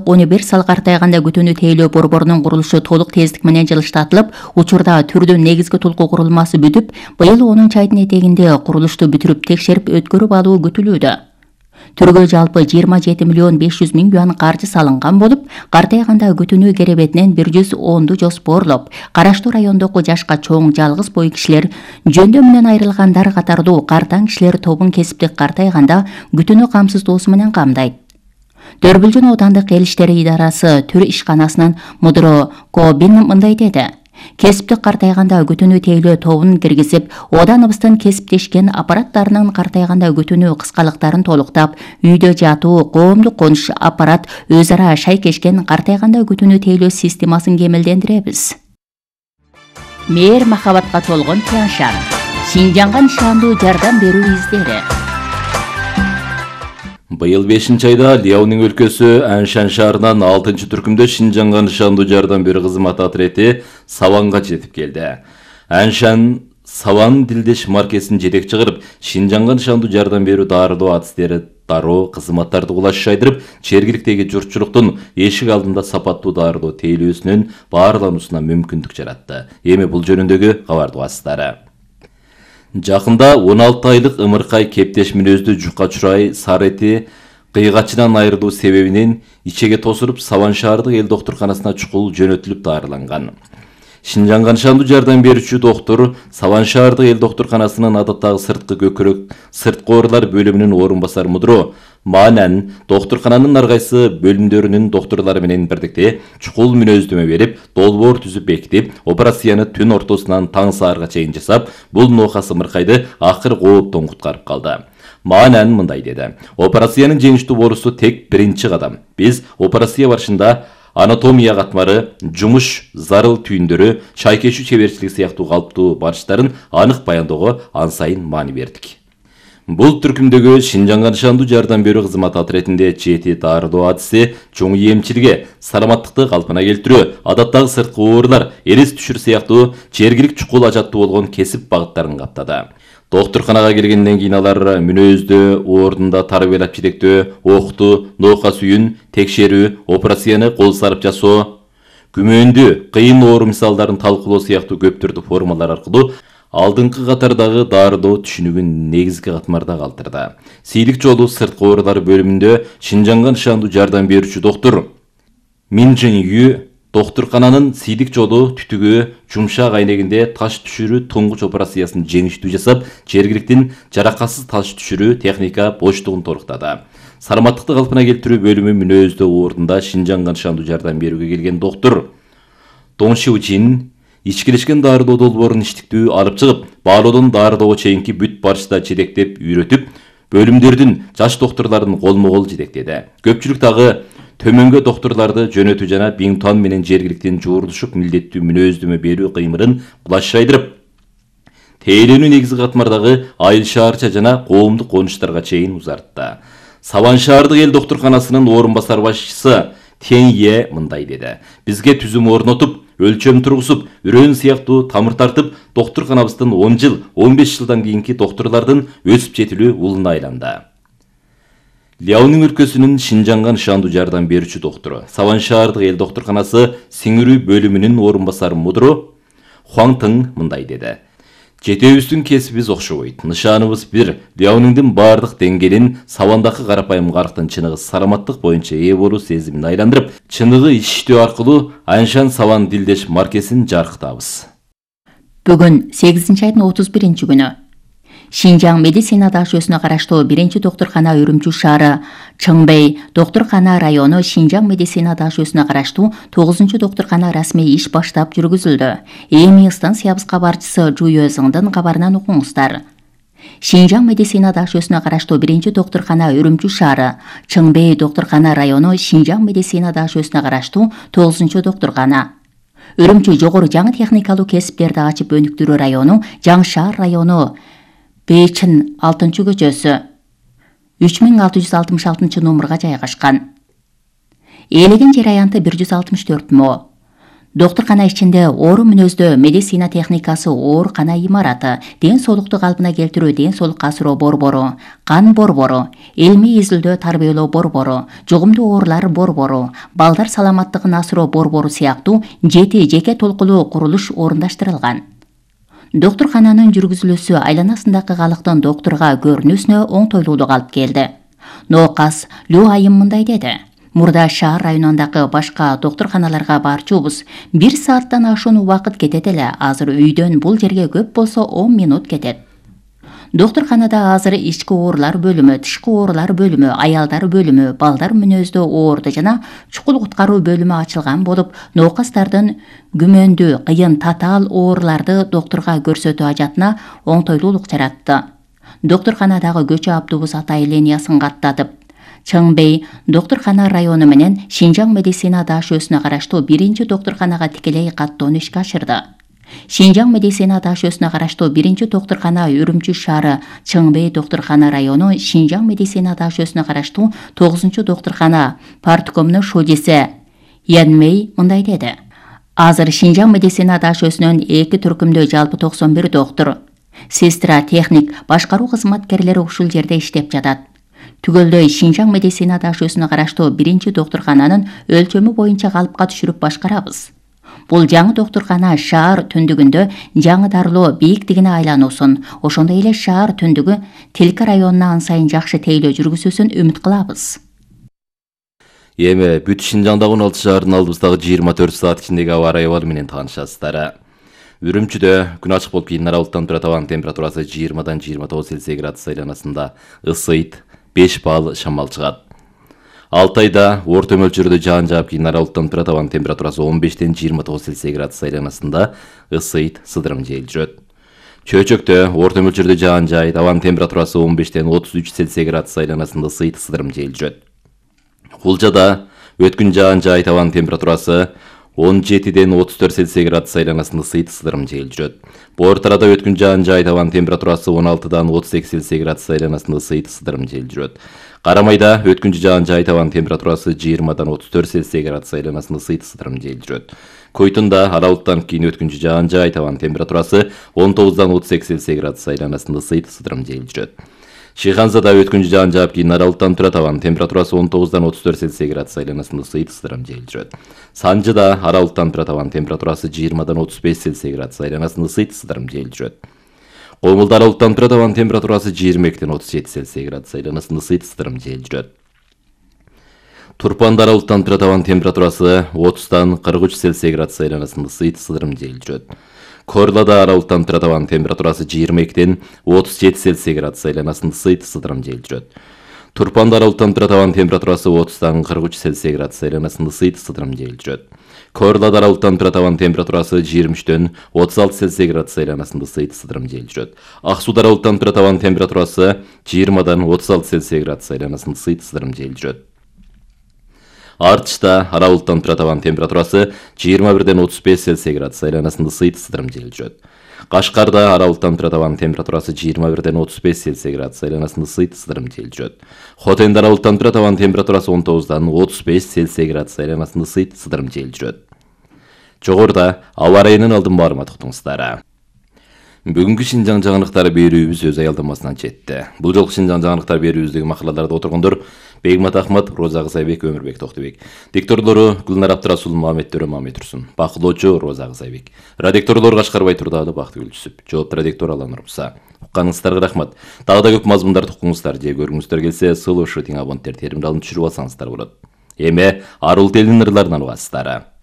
11 сал картайганда күтүүнү тейлөө борборунун курулушу толук тездик менен жылыштатылып, учурда түрдүн негизги тулку курулмасы бүтүп, быйыл 10 айдын этегинде курулушту бүтүрүп текшерип өткөрүп алуу күтүлүүдө. Түргө жалпы 27 миллион 500 миң юан каржы салынган болуп, картайганда күтүүнү керебетинен 110 жоспорлоп, караштуу райондогу жашка чоң жалгыз бой кишилер, жөндөө менен айрылгандар катардуу картаң кишилер тобун кесиптик картайганда күтүүнү камсыздоосу менен камдайт. Дөрбүлжүн оодандык эл иштери идарасы түр ишканасынын мудуру Кобин мындай деди. Кесиптик картайганда күтүүнү тейлөө тобун киргизип, ооданыбыздын кесиптешкен аппараттарынын картайганда күтүүнү кыскалыктарын толуктап, үйдө жатуу, коомдук конуш аппарат өз ара шайкешкен картайганда күтүүнү тейлөө системасын кемелдендиребиз. Мээр махабатка толгон Тяншан. Шинжанга нышандуу жардам берүү издери. Быйыл 5-айда Ляонин өлкөсү Аншан шаарынан 6-түркүмдө Шинжанга нышандуу жардам берүү кызматы отрети Саванга жетип келди. Аншан Саван дилдеш маркесин жетекчи кылып, Шинжанга нышандуу жардам берүү дарылоо адистери дароо кызматтарды кулаш шайдырып, жергиликтеги журтчулуктун эшик алдында сапаттуу дарылоо тейлөөсүнүн баарлануусуна мүмкүндүк жаратты. Эми бул жөнүндөгү кабардуу астары. Жакында 16 айлык ымыркай кептеш мүнөздүү жукка чурай Сарети кыйгачынан айрылуу себебинен ичеге тосуруп Саван шаардык эл доктурканасына чукул жөнөтүлүп дарыланган. Шинжанга нышандуу жардам берүүчү доктор Саван шаардык эл доктурканасынын адаттагы сырткы көкүрөк сырткы оорулар бөлүмүнүн орун басар мудуру Маанан доктуркананын ар кайсы бөлүмдөрүнүн докторлору менен бирдикте чукул мүнөздөмө берип, долбоор түзүп бекитип, операцияны түн ортосунан таң саарга чейин жасап, бул ноокас ымыркайды акыр кооптон куткарып калды. Маанан мындай деди. Операциянын жеңиштүү болуусу тек биринчи кадам. Биз операция барышында анатомия катмары, жумуш зарыл түйүндөрү, шайкешүү чеберчилиги сыяктуу калыптуу барыштарын анык баяндоого ан сайын маани бердик. Бул түркүмдөгү Шинжанга нышандуу жардам берүү кызматы отретинде жети дарылоо адиси, чоң эмчилге, саламаттыкты калпына келтирүү, адаттагы сырткы оорулар, эрис түшүр сыяктуу жергилик чукул ажаттуу болгон кесип багыттарын каптады. Доктурканага келгенден кийин алар мүнөздө, ордунда тарбиялап жетектөө, окту, ноокас үйүн текшерүү, операцияны кол сарып жасоо, күмөндүү, кыйын оору мисалдарын талкуулоо сыяктуу көптөрдү формалар аркылуу алдыңкы катардагы дарылоо түшүнүгүн негизги катмарда калтырды. Сейдик жолу сырткы оорулар бөлүмүндө Шинжанга нышандуу жардам берүүчү доктор Мин Жин Ю доктуркананын сейдик жолу түтүгү жумшак айнегинде таш түшүрүү туңгуч операциясын жеңиштүү жасап, жергиликтин жаракатсыз таш түшүрүү техника боштугун толуктады. Саламаттыкты калпына келтирүү бөлүмү мүнөздө ордунда Шинжанга нышандуу жардам берүүгө келген доктор Дон Шиу Жин ичкилешкен дарылоо долбоорун иштиктүү алып чыгып, баалоодон дарылоого чейинки бүт барышта жетектеп үйрөтүп, бөлүмдөрдүн жаш докторлорун колмо-кол жетектеди. Көпчүлүк дагы төмөнгө докторлорду жөнөтүү жана Бингтон менен жергиликтин жуурулушук милдеттүү мүнөздөмө берүү кыймырын булаш шайдырып, тейлөөнү негизги катмардагы айыл шаарча жана коомдук конуштарга чейин узартты. Саван шаардык эл доктурканасынын орун басар башчысы Тенье мындай деди. Бизге түзүм орнотуп, өлчөм тургузуп, үрөөн сыяктуу тамыр тартып, доктурканабыздын 10 жыл, 15 жылдан кийинки докторлордун өсүп жетилүү улуна айланды. Ляонин өлкөсүнүн Шинжанга нышандуу жардам берүүчү доктору, Саван шаардык эл доктурканасы сиңирүү бөлүмүнүн орун басар мудуру Хуан Тың мындай деди. Жетөөбүздүн кесибиз окшобойт. Нышаныбыз бир. Ляониндин баардык деңгээлин Савандагы карапайым карыктын чыныгы саламаттык боюнча ээ болуу сезимин айландырып, чыныгы иштөө аркылуу Аншан Саван дилдеш маркесин жаркытабыз. Бүгүн 8-айдын 31-күнү Шинжаң медицина дашөсүнө караштуу 1-доктуркана Үрүмчү шаары, Чыңбей доктуркана району Шинжаң медицина дашөсүнө караштуу 9-доктуркана расмий иш баштап жүргүзүлдү. Эми станциябызга барчысы Жуйөзүңдүн кабарынан окуңуздар. Шинжаң медицина дашөсүнө караштуу 1-доктуркана Үрүмчү шаары, Чыңбей доктуркана району Шинжаң медицина дашөсүнө караштуу 9-доктуркана. Үрүмчү жогору жаңы техникалуу кесиптерди ачып өнүктүрүү району, Жаңшаар району Бейчин 6-көчөсү 3666 номурга жайгашкан. Ээлеген жер аянты 164 мо. Доктуркана ичинде оору мүнөздө медицина техникасы, оорукана имараты, ден соолукту калпына келтирүү, ден соолукка асыроо борбору, кан борбору, илмий изилдөө тарбиялоо борбору, жугумдуу оорулар борбору, балдар саламаттыгын асыроо борбору сыяктуу 7 жеке толкулуу курулуш орундаштырылган. Доктуркананын жүргүзүлүүсү айланасындагы калктын доктурга көрүнүүсүнө оңтойлуулук алып келди. Ноокас Лю Айым мындай деди: Мурда шаар районундагы башка доктурканаларга барчубуз. 1 сааттан ашуун убакыт кетет эле. Азыр үйдөн бул жерге көп болсо 10 минут кетет. Доктурканада азыр ички оорулар бөлүмү, тышкы оорулар бөлүмү, аялдар бөлүмү, балдар мүнөздүү оорду жана чукул куткаруу бөлүмү ачылган болуп, ноокастардын күмөндүү, кыйын, татаал ооруларды доктурга көрсөтүү ажатына оңтойлуулук жаратты. Доктурканадагы көчө автобус атайын линиясын каттатып, Чыңбей доктуркана району менен Шинжаң медицина дашөөсүнө караштуу 1-чи доктурканага тикелей каттоону ишке ашырды. Шинжаң медицина дашөөсүнө караштуу 1-чи доктуркана Үрүмчү шаары, Чыңбей доктуркана району, Шинжаң медицина дашөөсүнө караштуу 9-чу доктуркана парткомунун шудиси Янмей мындай деди: Азыр Шинжаң медицина дашөөсүнөн 2 түркүмдө жалпы 91 доктур, сестра, техник, башкаруу кызматкерлери ушул жерде иштеп жатат. Түгөлдөй Шинжаң медицина дашөөсүнө караштуу 1-чи доктуркананын өлчөмү боюнча калыпка түшүрүп башкарабыз. Бул жаңы доктуркана шаар түндүгүндө жаңы дарылоо бийиктигине айлануусун, ошондой эле шаар түндүгү Тилке районуна ан сайын жакшы тейлөө жүргүзүүсүн үмүт кылабыз. Эми бүт Шинжаңдагы 16 шаардын алдыбыздагы 24 саат ичиндеги аба ырайы менен таанышасыздар. Үрүмчүдө күн ачык болуп кийин аралыктан тура табан температурасы 20-дан 29 Цельсий градус айланасында, ысыйт, 5 балл шамал чыгат. Алтайда орто мөлчөрдө жаан жаап кийин аралыктан тура табан температурасы 15-ден 29 Цельсий градус айланасында, ысыйт, сыдырым жел жүрөт. Чөйчөктө орто мөлчөрдө жаан жайт, абанын температурасы 15-ден 33 Цельсий градус айланасында, ысыйт, сыдырым жел жүрөт. Кулжада өткүн жаан жайт, абанын температурасы 17-ден 34 Цельсий градус айланасында, ысыйт, сыдырым жел жүрөт. Боор тарада өткүн жаан жайт, абанын температурасы 16-дан 38 Цельсий градус айланасында, ысыйт, сыдырым жел жүрөт. Карамайда өткүнчү жаан жайт, абанын температурасы 20-дан 34 Цельсий градус айланасында, ысыйт, сыдырым жел жүрөт. Койтунда аралыктан кийин өткүнчү жаан жайт, абанын температурасы 19-дан 38 Цельсий градус айланасында, ысыйт, сыдырым жел жүрөт. Шиханзада өткүнчү жаан жаап кийин аралыктан тура табан температурасы 19-дан 34 Цельсий градус айланасында, ысыйт, сыдырым жел жүрөт. Санжыда аралыктан тура табан температурасы 20-дан 35 Цельсий градус айланасында, ысыйт, сыдырым жел жүрөт. Комулда аралыктан тура табан температурасы 22-ден 37 Цельсий градус айланасында, ысыйт, сыдырым жел жүрөт. Турпанда аралыктан тура табан температурасы 30-дан 43 Цельсий градус айланасында, ысыйт, сыдырым жел жүрөт. Корлада аралыктан тура табан температурасы 22-ден 37 Цельсий градус айланасында, ысыйт, сыдырым жел жүрөт. Турпанда аралыктан тура табан температурасы 30-дан 43 Цельсий градус айланасында, ысыйт, сыдырым жел жүрөт. Корлада аралыктан тура табан температурасы 23-дөн 36 Цельсий градус айланасында, ысыйт, сыдырым жел жүрөт. Ак сууда аралыктан тура табан температурасы 20-дан 36 Цельсий градус айланасында, ысыйт, сыдырым жел жүрөт. Артышта аралыктан тура табан температурасы 21-ден 35 Цельсий градус айланасында, ысыйт, сыдырым жел жүрөт. Кашкарда аралыктан тура табан температурасы 21-ден 35 Цельсий градус айланасында, ысыйт, сыдырым жел жүрөт. Хотенде аралыктан тура табан температурасы 19-дан 35 Цельсий градус айланасында, ысыйт, сыдырым жел жүрөт. Жогоруда аба ырайынын алдын баарыма токтоңуздар. Бүгүнкү Шинжаң жаңылыктары берүүбүз өз аялдамасынан жетти. Бул жолку Шинжаң жаңылыктар берүүбүздөгү макалаларда отургондор Бегмат Ахмат, Роза Кызайбек, Өмүрбек Токтубек. Дикторлору Гүлнар Абдрасул, Мамет Төрө, Мамет Турсун. Бакылоочу Роза Кызайбек. Редакторлор Кашкарбай Турдаалы, Бактыгүл Түсүп. Жоопту редактор Алан Урмса. Укканыңыздарга рахмат. Дагы да көп мазмундарды укуңуздар же көргүңүздөр келсе, сылышы тиң абоненттер теримди алып түшүрүп алсаңыздар болот. Эми арул телинин ырларынан угасыздар.